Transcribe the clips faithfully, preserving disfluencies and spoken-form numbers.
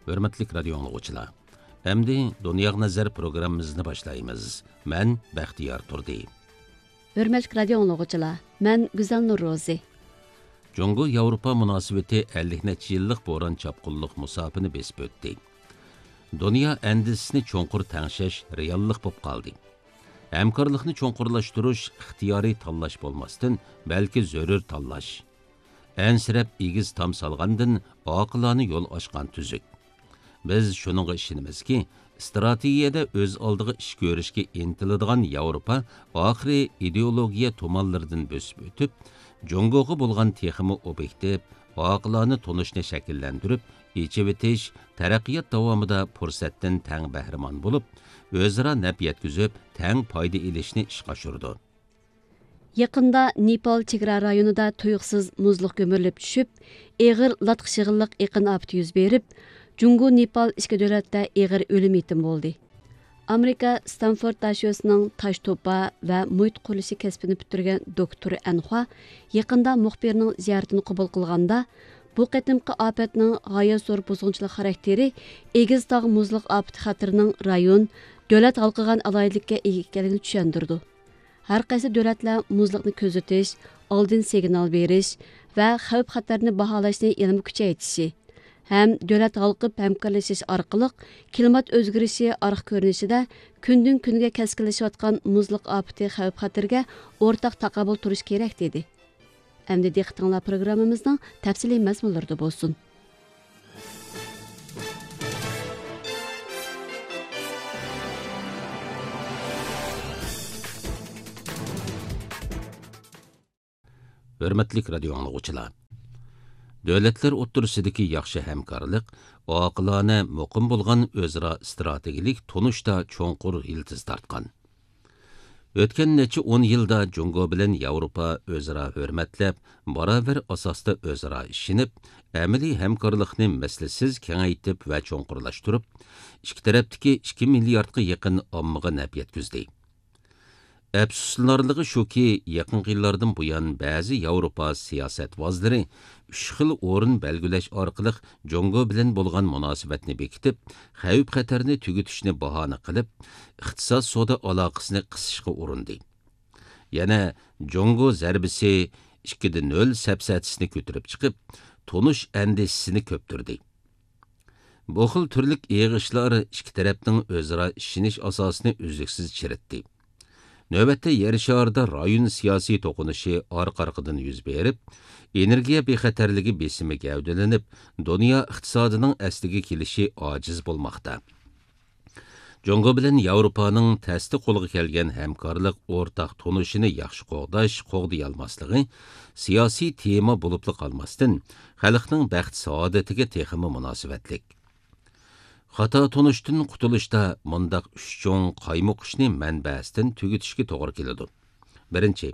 ھۆرمەتلىك رادىيو ئاڭلىغۇچىلار، ئەمدى دۇنياغا نەزەر پروگراممىمىزنى باشلايمىز. مەن بەختىيار تۇردى. ھۆرمەتلىك رادىيو ئاڭلىغۇچىلار، مەن گۈزەلنۇر روزى. جۇڭگو ياۋروپا مۇناسىۋىتى ئەللىك نەچچە يىللىق بوران-چاپقۇنلۇق مۇساپىنى بېسىپ ئۆتتى. دۇنيا ئەندىزىسىنى چوڭقۇر تەڭشەش رېئاللىق بولۇپ قالدى. ھەمكارلىقنى چوڭقۇرلاشتۇرۇش ئىختىيارىي تاللاش بولماستىن، بەلكى زۆرۈر تاللاش. ئەنسىرەپ ئېگىز تام سالغاندىن، ئاقىلانە يول ئاچقان تۈزۈك. بىز شۇنىڭغا ئىشىنىمىزكى، ئىستراتېگىيەدە ئۆز ئالدىغا ئىش كۆرۈشكە ئىنتىلىدىغان ياۋروپا ئاخىرى ئىدېئولوگىيە تۇمانلىرىدىن بۆسۈپ ئۆتۈپ، جۇڭگوغا بولغان تېخىمۇ ئوبيېكتىپ، ئاقىلانە تونۇشنى شەكىللەندۈرۈپ، ئېچىۋېتىش، تەرەققىيات داۋامىدا پۇرسەتتىن تەڭ بەھرىمەن بولۇپ، ئۆزئارا نەپ يەتكۈزۈپ، تەڭ پايدا ئېلىشنى ئىشقا ئاشۇرىدۇ. يېقىندا نېپال چېگرا رايونىدا تۇيۇقسىز مۇزلۇق گۈمۈرۈلۈپ چۈشۈپ، ئېغىر لاتقا شېغىللىق ئېقىن ئاپىتى يۈز بېرىپ، جۇڭگو نېپال ئىككى دۆلەتتە ئېغىر ئۆلۈم يېتىم بولدى. ئامېرىكا ستانفورد داشۆسىنىڭ تاش توپا ۋە مۇھىت قۇرۇلۇشى كەسپىنى پۈتتۈرگەن دوكتور ئەنخۇا يېقىندا مۇخبىرنىڭ زىيارىتىنى قوبۇل قىلغاندا، بۇ قېتىمقى ئاپەتنىڭ غايەت زور بۇزغۇنچىلىق خاراكتېرى ئېگىز تاغ مۇزلۇق ئاپىتى خەتىرىنىڭ رايون، دۆلەت ھالقىغان ئالاھىدىلىككە ئىگە ئىكەنلىكىنى چۈشەندۈرىدۇ. ھەر قايسى دۆلەتلەر مۇزلۇقنى كۆزىتىش، ئالدىن سىگنال بېرىش ۋە خەۋپ-خەتەرنى باھالاشنى يەنىمۇ كۈچەيتىشى ھەم دۆلەت ھالقىپ ھەمكارلىشىش ئارقىلىق كىلىمات ئۆزگىرىشى ئارقا كۆرۈنۈشىدە كۈندىن-كۈنگە كەسكىنلىشىۋاتقان مۇزلۇق ئاپىتى خەۋپ-خەتىرىگە ئورتاق تاقابىل تۇرۇش كېرەك، دېدى. ئەمدى دىققىتىڭلار پروگراممىمىزنىڭ تەپسىلىي مەزمۇنلىرىدا بولسۇن. ھۆرمەتلىك رادىيو ئاڭلىغۇچىلار! دۆلەتلەر ئوتتۇرىسىدىكى ياخشى ھەمكارلىق ئاقىلانە، مۇقىم بولغان ئۆزئارا ئىستراتېگىيەلىك تونۇشتا چوڭقۇر يىلتىز تارتقان. ئۆتكەن نەچچە ئون يىلدا جۇڭگو بىلەن ياۋروپا ئۆزئارا ھۆرمەتلەپ، باراۋەر ئاساستا ئۆزئارا ئىشىنىپ، ئەمەلىي ھەمكارلىقنى مىسلىسىز كېڭەيتىپ ۋە چوڭقۇرلاشتۇرۇپ، ئىككى تەرەپتىكى ئىككى مىلياردقا يېقىن ئاممىغا نەپ يەتكۈزدى. ئەپسۇسلىنارلىقى شۇكى، يېقىنقى يىللاردىن بۇيان بەزى ياۋروپا سىياسەتۋازلىرى ئۈچ خىل ئورۇن بەلگىلەش ئارقىلىق جۇڭگو بىلەن بولغان مۇناسىۋەتنى بېكىتىپ، خەۋپ-خەتەرنى تۈگىتىشنى باھانە قىلىپ، ئىقتىساد سودا ئالاقىسىنى قىسىشقا ئۇرۇندى. يەنە جۇڭگو زەربىسى ئىككىدە نۆل سەپسەتىسىنى كۆتۈرۈپ چىقىپ، تونۇش ئەندىزىسىنى كۆپتۈردى. بۇ خىل تۈرلۈك يىغىشلار ئىككى تەرەپنىڭ ئۆزئارا ئىشىنىش ئاساسىنى ئۈزلۈكسىز چىرىتتى. نۆۋەتتە يەر شارىدا رايون سىياسىي توقۇنۇشى ئارقا-ئارقىدىن يۈز بېرىپ، ئېنېرگىيە بىخەتەرلىكى بېسىمى گەۋدىلىنىپ، دۇنيا ئىقتىسادىنىڭ ئەسلىگە كېلىشى ئاجىز بولماقتا. جۇڭگو بىلەن ياۋروپانىڭ تەستە قولغا كەلگەن ھەمكارلىق ئورتاق تونۇشىنى ياخشى قوغداش، قوغدىيالماسلىقى سىياسىي تېما بولۇپلا قالماستىن، خەلقنىڭ بەخت-سائادىتىگە تېخىمۇ مۇناسىۋەتلىك. خاتا تونۇشتىن قۇتۇلۇشتا مۇنداق ئۈچ چوڭ قايمۇقۇشنى مەنبەسىدىن تۈگىتىشكە توغرا كېلىدۇ. بىرىنچى،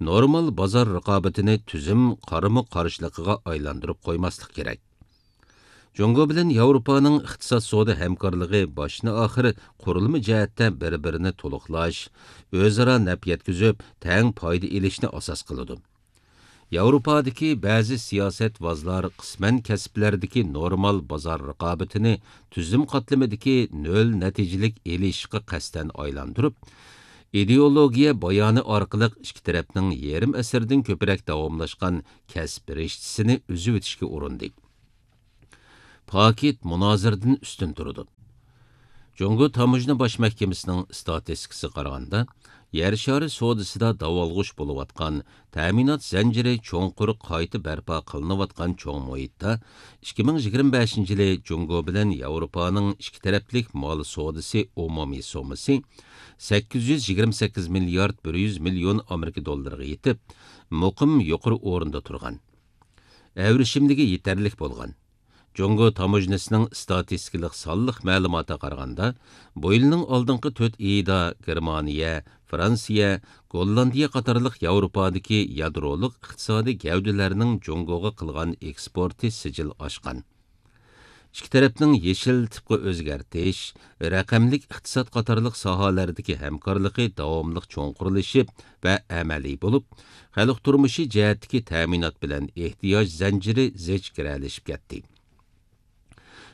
نورمال بازار رىقابىتىنى تۈزۈم قارىمۇ قارشىلىقىغا ئايلاندۇرۇپ قويماسلىق كېرەك. جۇڭگو بىلەن ياۋروپانىڭ ئىقتىساد سودا ھەمكارلىقى باشتىن-ئاخىر قۇرۇلما جەھەتتە بىر-بىرىنى تولۇقلاش، ئۆزئارا نەپ يەتكۈزۈپ، تەڭ پايدا ئېلىشنى ئاساس قىلىدۇ. ياۋروپادىكى بەزى سىياسەتۋازلار قىسمەن كەسىپلەردىكى نورمال بازار رىقابىتىنى تۈزۈم قاتلىمىدىكى نۆل نەتىجىلىك ئېلىشىشقا قەستەن ئايلاندۇرۇپ، ئىدېئولوگىيە بايانى ئارقىلىق ئىككى تەرەپنىڭ يېرىم ئەسىردىن كۆپرەك داۋاملاشقان كەسىپ رىشتىسىنى ئۈزۈۋېتىشكە ئۇرۇندى. پاكىت مۇنازىرىدىن ئۈستۈن تۇرىدۇ. جۇڭگو تاموژنا باش مەھكىمىسىنىڭ ئىستاتىستىكىسىغا قارىغاندا، يەر شارى سودىسىدا داۋالغۇش بولۇۋاتقان تەمىنات زەنجىرى چوڭقۇر قايتا بەرپا قىلىنىۋاتقان چوڭ مۇھىتتا، ئىككى مىڭ يىگىرمە بەشىنچى يىلى جۇڭگو بىلەن ياۋروپانىڭ ئىككى تەرەپلىك مال سودىسى ئومۇمىي سوممىسى سەككىز يۈز يىگىرمە سەككىز مىليارد بىر يۈز مىليون ئامېرىكا دوللىرىغا يېتىپ، مۇقىم يۇقىرى ئورۇندا تۇرغان. ئەۋرىشىملىكى يېتەرلىك بولغان. جۇڭگو تاموژنىسىنىڭ ئىستاتىستىكىلىق سانلىق مەلۇماتىغا قارىغاندا، بۇ يىلنىڭ ئالدىنقى تۆت ئېيىدا گېرمانىيە، فرانسىيە، گوللاندىيە قاتارلىق ياۋروپادىكى يادرولۇق ئىقتىسادىي گەۋدىلەرنىڭ جۇڭگوغا قىلغان ئېكسپورتى سىجىل ئاشقان. ئىككى تەرەپنىڭ يېشىل تىپقا ئۆزگەرتىش، رەقەملىك ئىقتىساد قاتارلىق ساھەلەردىكى ھەمكارلىقى داۋاملىق چوڭقۇرلىشىپ ۋە ئەمەلىي بولۇپ، خەلق تۇرمۇشى جەھەتتىكى تەمىنات بىلەن ئېھتىياج زەنجىرى زىچ گىرەلىشىپ كەتتى.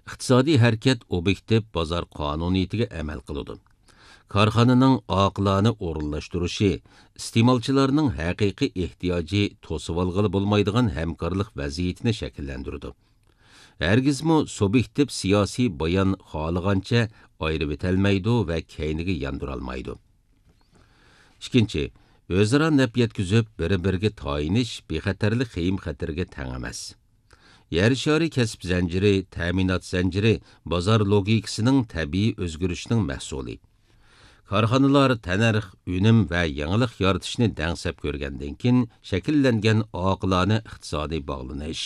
ئىقتىسادىي ھەرىكەت ئوبيېكتىپ بازار قانۇنىيىتىگە ئەمەل قىلىدۇ. كارخانىنىڭ ئاقىلانە ئورۇنلاشتۇرۇشى ئىستېمالچىلارنىڭ ھەقىقىي ئېھتىياجى توسۇۋالغىلى بولمايدىغان ھەمكارلىق ۋەزىيىتىنى شەكىللەندۈرىدۇ. ھەرگىزمۇ سۇبيېكتىپ سىياسىي بايان خالىغانچە ئايرىۋېتەلمەيدۇ ۋە كەينىگە ياندۇرالمايدۇ. ئىككىنچى، ئۆزئارا نەپ يەتكۈزۈپ، بىر-بىرىگە تايىنىش بىخەتەرلىك خېيىم-خەتىرىگە تەڭ ئەمەس. يەر شارى كەسىپ زەنجىرى، تەمىنات زەنجىرى بازار لوگىكىسىنىڭ تەبىئىي ئۆزگىرىشىنىڭ مەھسۇلى. كارخانىلار تەننەرخ، ئۈنۈم ۋە يېڭىلىق يارىتىشنى دەڭسەپ كۆرگەندىن كېيىن شەكىللەنگەن ئاقىلانە ئىقتىسادىي باغلىنىش.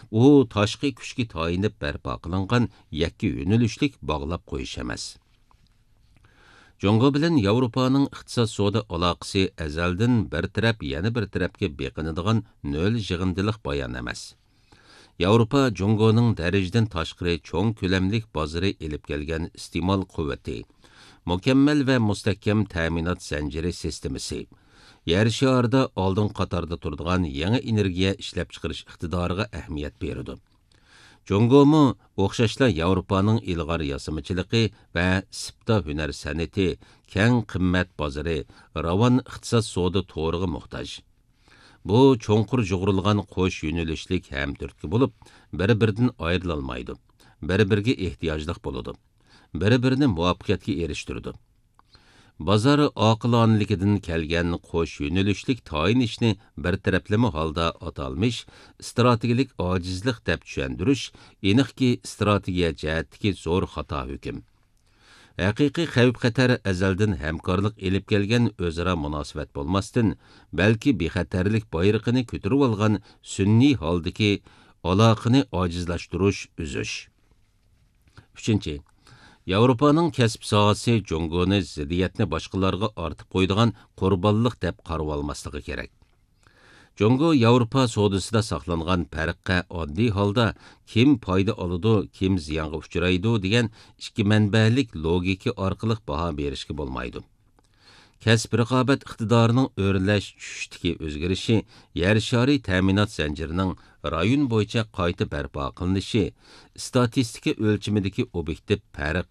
ئۇ تاشقى كۈچكە تايىنىپ بەرپا قىلىنغان يەككە يۆنىلىشلىك باغلاپ قويۇش ئەمەس. جۇڭگو بىلەن ياۋروپانىڭ ئىقتىساد سودا ئالاقىسى ئەزەلدىن بىر تەرەپ يەنە بىر تەرەپكە بېقىنىدىغان نۆل يىغىندىلىق بايان ئەمەس. ياۋروپا جۇڭگونىڭ دەرىجىدىن تاشقىرى چوڭ كۆلەملىك بازىرى ئېلىپ كەلگەن ئىستېمال قۇۋۋىتى، مۇكەممەل ۋە مۇستەھكەم تەمىنات زەنجىرى سىستېمىسى، يەر شارىدا ئالدىنقى قاتاردا تۇرىدىغان يېڭى ئېنېرگىيە ئىشلەپچىقىرىش ئىقتىدارىغا ئەھمىيەت بېرىدۇ. جۇڭگومۇ ئوخشاشلا ياۋروپانىڭ ئىلغار ياسىمىچىلىقى ۋە سىپتا ھۈنەر سەنئىتى، كەڭ قىممەت بازىرى، راۋان ئىقتىساد سودا تورىغا موھتاج. بۇ چوڭقۇر يۇغۇرۇلغان قوش يۆنىلىشلىك ھەمتۈرتكە بولۇپ، بىر-بىرىدىن ئايرىلالمايدۇ، بىر-بىرىگە ئېھتىياجلىق بولىدۇ، بىر-بىرىنى مۇۋەپپەقىيەتكە ئېرىشتۈرىدۇ. بازار ئاقىلانىلىكىدىن كەلگەن قوش يۆنىلىشلىك تايىنىشنى بىر تەرەپلىمە ھالدا ئاتالمىش ئىستراتېگىيەلىك ئاجىزلىق دەپ چۈشەندۈرۈش، ئېنىقكى، ئىستراتېگىيە جەھەتتىكى زور خاتا ھۆكۈم. ھەقىقىي خەۋپ-خەتەر ئەزەلدىن ھەمكارلىق ئېلىپ كەلگەن ئۆزئارا مۇناسىۋەت بولماستىن، بەلكى بىخەتەرلىك بايرىقىنى كۆتۈرۈۋالغان سۈنئىي ھالدىكى ئالاقىنى ئاجىزلاشتۇرۇش، ئۈزۈش. ئۈچىنچى، ياۋروپانىڭ كەسىپ ساھەسى جۇڭگونى زىددىيەتنى باشقىلارغا ئارتىپ قويىدىغان قۇربانلىق دەپ قارىۋالماسلىقى كېرەك. جۇڭگو ياۋروپا سودىسىدا ساقلانغان پەرققە ئاددىي ھالدا كىم پايدا ئالىدۇ، كىم زىيانغا ئۇچرايدۇ دېگەن ئىككى مەنبەلىك لوگىكا ئارقىلىق باھا بېرىشكە بولمايدۇ. كەسىپ رىقابەت ئىقتىدارىنىڭ ئۆرلەش چۈشۈشتىكى ئۆزگىرىشى، يەر شارى تەمىنات زەنجىرىنىڭ رايون بويىچە قايتا بەرپا قىلىنىشى، ئىستاتىستىكا ئۆلچىمىدىكى ئوبيېكتىپ پەرق،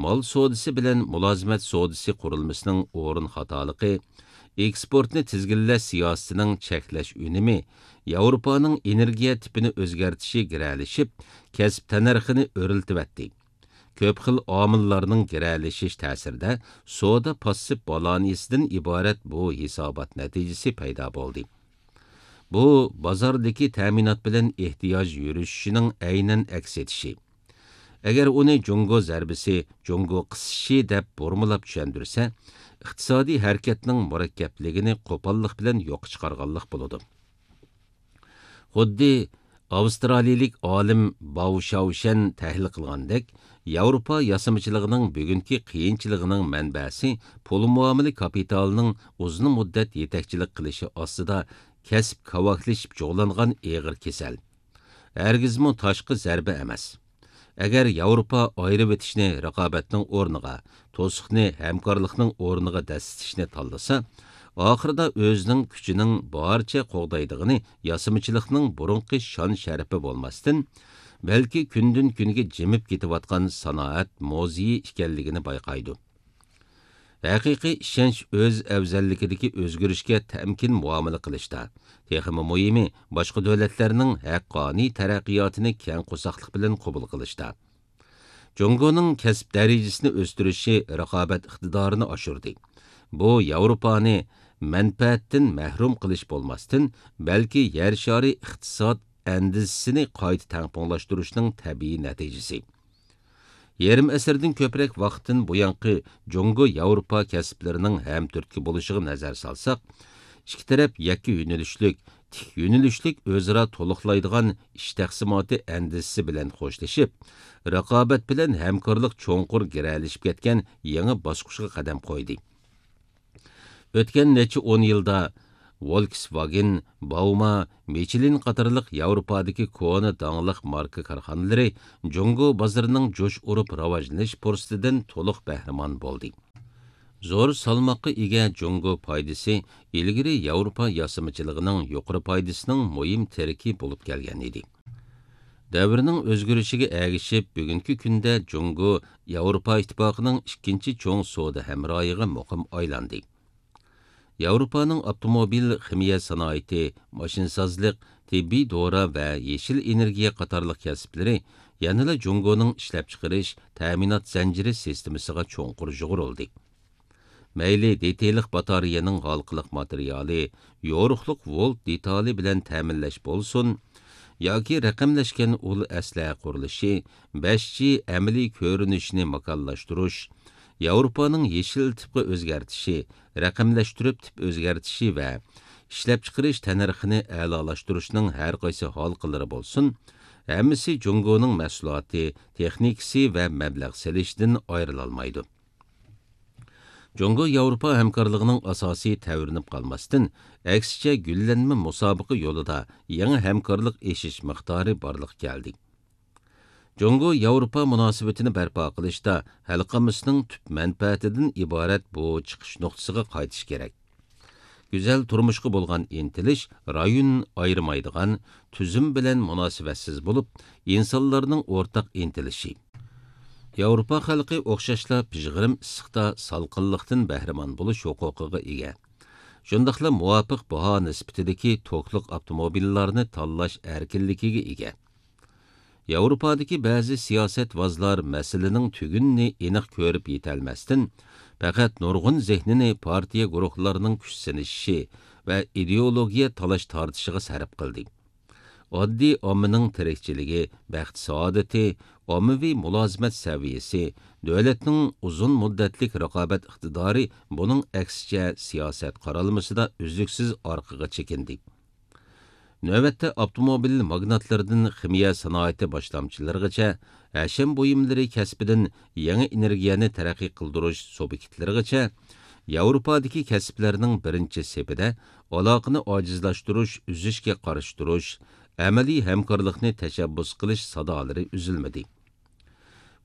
مال سودىسى بىلەن مۇلازىمەت سودىسى قۇرۇلمىسىنىڭ ئورۇن خاتالىقى، ئېكسپورتنى تىزگىنلەش سىياسىتىنىڭ چەكلەش ئۈنۈمى، ياۋروپانىڭ ئېنېرگىيە تىپىنى ئۆزگەرتىشى گىرەلىشىپ، كەسىپ تەننەرخىنى ئۆرلىتىۋەتتى. كۆپ خىل ئامىللارنىڭ گىرەلىشىش تەسىرىدە سودا پاسسىپ بالانسىدىن ئىبارەت بۇ ھېسابات نەتىجىسى پەيدا بولدى. بۇ بازاردىكى تەمىنات بىلەن ئېھتىياج يۈرۈشۈشىنىڭ ئەينەن ئەكس ئېتىشى. ئەگەر ئۇنى جۇڭگو زەربىسى، جۇڭگو قىسىشى دەپ بۇرمىلاپ چۈشەندۈرسە، ئىقتىسادىي ھەرىكەتنىڭ مۇرەككەپلىكىنى قوپاللىق بىلەن يوققا چىقارغانلىق بولىدۇ. خۇددى ئاۋسترالىيىلىك ئالىم باۋ شاۋشەن تەھلىل قىلغاندەك، ياۋروپا ياسىمىچىلىقىنىڭ بۈگۈنكى قىيىنچىلىقىنىڭ مەنبەسى پۇل مۇئامىلە كاپىتالىنىڭ ئۇزۇن مۇددەت يېتەكچىلىك قىلىشى ئاستىدا كەسىپ كاۋاكلىشىپ جۇغلانغان ئېغىر كېسەل. ھەرگىزمۇ تاشقى زەربە ئەمەس. ئەگەر ياۋروپا ئايرىۋېتىشنى رىقابەتنىڭ ئورنىغا، توسۇقنى ھەمكارلىقنىڭ ئورنىغا دەسسىتىشنى تاللىسا، ئاخىرىدا ئۆزىنىڭ كۈچىنىڭ بارىچە قوغدايدىغىنى ياسىمىچىلىقنىڭ بۇرۇنقى شان-شەرىپى بولماستىن، بەلكى كۈندىن-كۈنگە جىمىپ كېتىۋاتقان سانائەت موزىيى ئىكەنلىكىنى بايقايدۇ. ھەقىقىي ئىشەنچ ئۆز ئەۋزەللىكىدىكى ئۆزگىرىشكە تەمكىن مۇئامىلە قىلىشتا، تېخىمۇ مۇھىمى، باشقا دۆلەتلەرنىڭ ھەققانىي تەرەققىياتىنى كەڭ قورساقلىق بىلەن قوبۇل قىلىشتا. جۇڭگونىڭ كەسىپ دەرىجىسىنى ئۆستۈرۈشى رىقابەت ئىقتىدارىنى ئاشۇردى. بۇ ياۋروپانى مەنپەئەتتىن مەھرۇم قىلىش بولماستىن، بەلكى يەر شارى ئىقتىساد ئەندىزىسىنى قايتا تەڭپۇڭلاشتۇرۇشنىڭ تەبىئىي نەتىجىسى. يېرىم ئەسىردىن كۆپرەك ۋاقىتتىن بۇيانقى جۇڭگو ياۋروپا كەسىپلىرىنىڭ ھەمتۈرتكە بولۇشىغا نەزەر سالساق، ئىككى تەرەپ يەككە يۆنىلىشلىك، تىك يۆنىلىشلىك ئۆزئارا تولۇقلايدىغان ئىش تەقسىماتى ئەندىزىسى بىلەن خوشلىشىپ، رىقابەت بىلەن ھەمكارلىق چوڭقۇر گىرەلىشىپ كەتكەن يېڭى باسقۇچقا قەدەم قويدى. ئۆتكەن نەچچە ئون يىلدا ۋولكسۋاگېن، باۋما، مىچلىن قاتارلىق ياۋروپادىكى كونا داڭلىق ماركا كارخانىلىرى جۇڭگو بازىرىنىڭ جۇش ئۇرۇپ راۋاجلىنىش پۇرسىتىدىن تولۇق بەھرىمەن بولدى. زور سالماققا ئىگە جۇڭگو پايدىسى ئىلگىرى ياۋروپا ياسىمىچىلىقىنىڭ يۇقىرى پايدىسىنىڭ مۇھىم تىرىكى بولۇپ كەلگەن ئىدى. دەۋرنىڭ ئۆزگىرىشىگە ئەگىشىپ، بۈگۈنكى كۈندە جۇڭگو ياۋروپا ئىتتىپاقىنىڭ ئىككىنچى چوڭ سودا ھەمراھىغا مۇقىم ئايلاندى. ياۋروپانىڭ ئاپتوموبىل، خىمىيە سانائىتى، ماشىنىسازلىق، تېببىي دورا ۋە يېشىل ئېنېرگىيە قاتارلىق كەسىپلىرى يەنىلا جۇڭگونىڭ ئىشلەپچىقىرىش، تەمىنات زەنجىرى سىستېمىسىغا چوڭقۇر يۇغۇرۇلدى. مەيلى دېتىلىق باتارېيەنىڭ ھالقىلىق ماتېرىيالى، يورۇقلۇق ۋولت دېتالى بىلەن تەمىنلەش بولسۇن، ياكى رەقەملەشكەن ئۇل ئەسلىھە قۇرۇلۇشى، بەش جى ئەمەلىي كۆرۈنۈشىنى ماكانلاشتۇرۇش، ياۋروپانىڭ يېشىل تىپقا ئۆزگەرتىشى، رەقەملەشتۈرۈپ تىپ ئۆزگەرتىشى ۋە ئىشلەپچىقىرىش تەننەرخىنى ئەلالاشتۇرۇشنىڭ ھەرقايسى ھالقىلىرى بولسۇن، ھەممىسى جۇڭگونىڭ مەھسۇلاتى، تېخنىكىسى ۋە مەبلەغ سېلىشىدىن ئايرىلالمايدۇ. جۇڭگو ياۋروپا ھەمكارلىقىنىڭ ئاساسى تەۋرىنىپ قالماستىن، ئەكسىچە گۈللەنمە مۇسابىقە يولىدا يېڭى ھەمكارلىق ئېشىش مىقدارى بارلىققا كەلدى. جۇڭگو ياۋروپا مۇناسىۋىتىنى بەرپا قىلىشتا خەلقىمىزنىڭ تۈپ مەنپەئەتىدىن ئىبارەت بۇ چىقىش نۇقتىسىغا قايتىش كېرەك. گۈزەل تۇرمۇشقا بولغان ئىنتىلىش رايون ئايرىمايدىغان تۈزۈم بىلەن مۇناسىۋەتسىز بولۇپ، ئىنسانلارنىڭ ئورتاق ئىنتىلىشى. ياۋروپا خەلقى ئوخشاشلا پىژغىرىم ئىسسىقتا سالقىنلىقتىن بەھرىمەن بولۇش ھوقۇقىغا ئىگە. شۇنداقلا مۇۋاپىق باھا نىسبىتىدىكى توكلۇق ئاپتوموبىللارنى تاللاش ئەركىنلىكىگە ئىگە. ياۋروپادىكى بەزى سىياسەتۋازلار مەسىلىنىڭ تۈگۈنىنى ئېنىق كۆرۈپ يېتەلمەستىن، پەقەت نۇرغۇن زېھنىنى پارتىيە گۇرۇھلارنىڭ كۈچ سىنىشىشى ۋە ئىدېئولوگىيە تالاش-تارتىشىغا سەرپ قىلدى. ئاددىي ئاممىنىڭ تىرىكچىلىكى، بەخت-سائادىتى، ئاممىۋى مۇلازىمەت سەۋىيەسى، دۆلەتنىڭ ئۇزۇن مۇددەتلىك رىقابەت ئىقتىدارى بۇنىڭ ئەكسىچە سىياسەت قارالمىسىدا ئۈزلۈكسىز ئارقىغا چېكىندى. نۆۋەتتە ئاپتوموبىل ماگناتلىرىدىن خىمىيە سانائىتى باشلامچىلىرىغىچە، ھەشەم بۇيۇملىرى كەسپىدىن يېڭى ئېنېرگىيەنى تەرەققىي قىلدۇرۇش سۇبيېكتلىرىغىچە، ياۋروپادىكى كەسىپلەرنىڭ بىرىنچى سېپىدە ئالاقىنى ئاجىزلاشتۇرۇش، ئۈزۈشكە قارشى تۇرۇش، ئەمەلىي ھەمكارلىقنى تەشەببۇس قىلىش سادالىرى ئۈزۈلمىدى.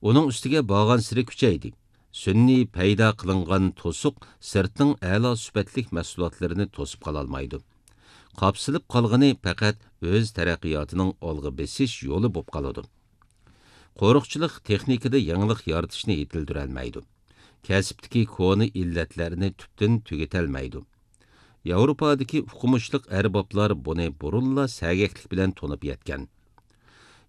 ئۇنىڭ ئۈستىگە بارغانسېرى كۈچەيدى. سۈنئىي پەيدا قىلىنغان توسۇق سىرتنىڭ ئەلا سۈپەتلىك مەھسۇلاتلىرىنى توسۇپ قالالمايدۇ. قاپسىلىپ قالغىنى پەقەت ئۆز تەرەققىياتىنىڭ ئالغا بېسىش يولى بولۇپ قالىدۇ. قورۇقچىلىق تېخنىكىدا يېڭىلىق يارىتىشنى يېتىلدۈرەلمەيدۇ. كەسىپتىكى كونا ئىللەتلەرنى تۈپتىن تۈگىتەلمەيدۇ. ياۋروپادىكى ئوقۇمۇشلۇق ئەربابلار بۇنى بۇرۇنلا سەگەكلىك بىلەن تونۇپ يەتكەن.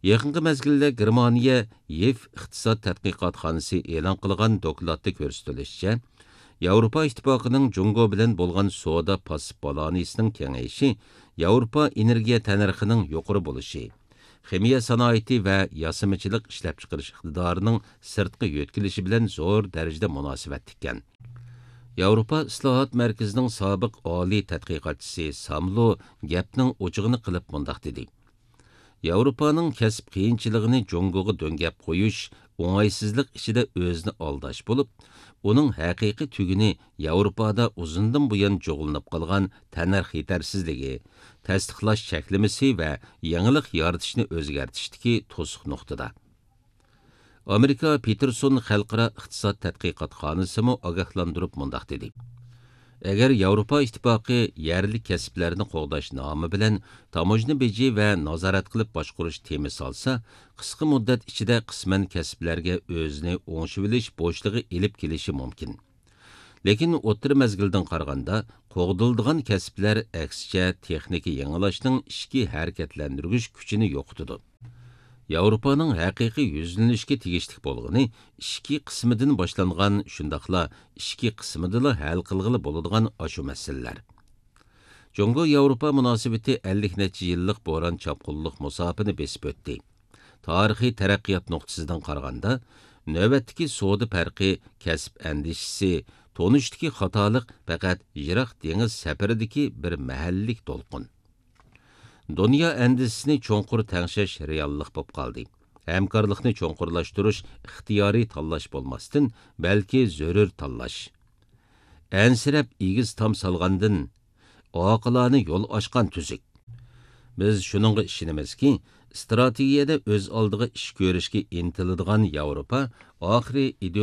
يېقىنقى مەزگىلدە گېرمانىيە يىف ئىقتىساد تەتقىقاتخانىسى ئېلان قىلغان دوكلاتتا كۆرسىتىلىشىچە، ياۋروپا ئىتتىپاقىنىڭ جۇڭگو بىلەن بولغان سودا پاسسىپ بالانسىنىڭ كېڭىيىشى ياۋروپا ئېنېرگىيە تەننەرخىنىڭ يۇقىرى بولۇشى، خىمىيە سانائىتى ۋە ياسىمىچىلىق ئىشلەپچىقىرىش ئىقتىدارىنىڭ سىرتقا يۆتكىلىشى بىلەن زور دەرىجىدە مۇناسىۋەتلىككەن. ياۋروپا ئىسلاھات مەركىزىنىڭ سابىق ئالىي تەتقىقاتچىسى ساملو گەپنىڭ ئوچۇقىنى قىلىپ مۇنداق دېدى: ياۋروپانىڭ كەسىپ قىيىنچىلىقىنى جۇڭگوغا دۆڭگەپ قويۇش ئوڭايسىزلىق ئىچىدە ئۆزىنى ئالداش بولۇپ، ئۇنىڭ ھەقىقىي تۈگۈنى ياۋروپادا ئۇزۇندىن بۇيان جۇغلىنىپ قالغان تەننەرخ يېتەرسىزلىكى، تەستىقلاش چەكلىمىسى ۋە يېڭىلىق يارىتىشنى ئۆزگەرتىشتىكى توسۇق نۇقتىدا. ئامېرىكا پېتېرسون خەلقئارا ئىقتىساد تەتقىقاتخانىسىمۇ ئاگاھلاندۇرۇپ مۇنداق دېدى: ئەگەر ياۋروپا ئىتتىپاقى يەرلىك كەسىپلەرنى قوغداش نامى بىلەن تاموژنا بېجى ۋە نازارەت قىلىپ باشقۇرۇش تېمى سالسا، قىسقا مۇددەت ئىچىدە قىسمەن كەسىپلەرگە ئۆزىنى ئوڭشىۋېلىش بوشلۇقى ئېلىپ كېلىشى مۇمكىن. لېكىن ئوتتۇرا مەزگىلدىن قارىغاندا، قوغدىلىدىغان كەسىپلەر ئەكسىچە تېخنىكا يېڭىلاشنىڭ ئىچكى ھەرىكەتلەندۈرگۈچ كۈچىنى يوقىتىدۇ. ياۋروپانىڭ ھەقىقىي يۈزلىنىشكە تېگىشلىك بولغىنى ئىچكى قىسمىدىن باشلانغان، شۇنداقلا ئىچكى قىسمىدىلا ھەل قىلغىلى بولىدىغان ئاشۇ مەسىلىلەر. جۇڭگو ياۋروپا مۇناسىۋىتى ئەللىك نەچچە يىللىق بوران چاپقۇنلۇق مۇساپىنى بېسىپ ئۆتتى. تارىخىي تەرەققىيات نۇقتىسىدىن قارىغاندا، نۆۋەتتىكى سودا پەرقى، كەسىپ ئەندىشىسى، تونۇشتىكى خاتالىق پەقەت يىراق دېڭىز سەپىرىدىكى بىر مەھەللىلىك دولقۇن. دۇنيا ئەندىزىسىنى چوڭقۇر تەڭشەش رېئاللىق بولۇپ قالدى. ھەمكارلىقنى چوڭقۇرلاشتۇرۇش ئىختىيارىي تاللاش بولماستىن، بەلكى زۆرۈر تاللاش. ئەنسىرەپ ئېگىز تام سالغاندىن، ئاقىلانە يول ئاچقان تۈزۈك. بىز شۇنىڭغا ئىشىنىمىزكى، ئىستراتېگىيەدە ئۆز ئالدىغا ئىش كۆرۈشكە ئىنتىلىدىغان ياۋروپا ئاخىرى ئىدېئولوگىيە